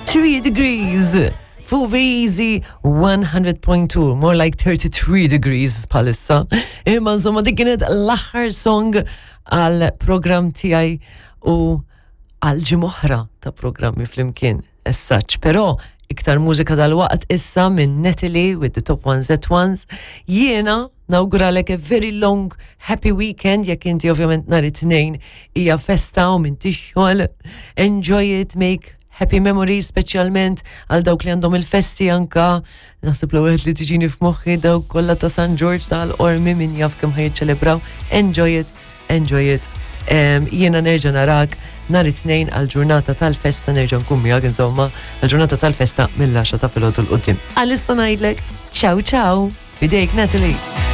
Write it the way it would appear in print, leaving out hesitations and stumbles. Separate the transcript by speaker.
Speaker 1: 3 degrees fuq Easy 100.2, more like 33 degrees bħalissa. Imma insomma dik kienet l-aħħar song għal program tiegħi u għal ġimgħa ta' programmi flimkien as such. Però iktar mużika dal-waqt issa minn Natalie with the Top Ones at Ones. Jiena nawguralek a very long happy weekend jekk inti ovvjament nhar it-tnejn hija festa u m'intix xogħol. Enjoy it, make happy memories speċjalment għal dawk li għandhom il-festi anka naħseb l-ewwel li tiġini f'moħħi dawk kollha ta' San George tal-Qormi min jaf kemm ħa jiċċelebraw. Enjoy it, enjoy it. Jiena nerġa' narak nhar it-tnejn għal ġurnata tal-festa nerġa' nkun miegħek insomma għal ġurnata tal-festa mill-10 ta' filgħodu 'l quddiem. Għalissa ngħidlek ciao ciao, f'idejk Natalie.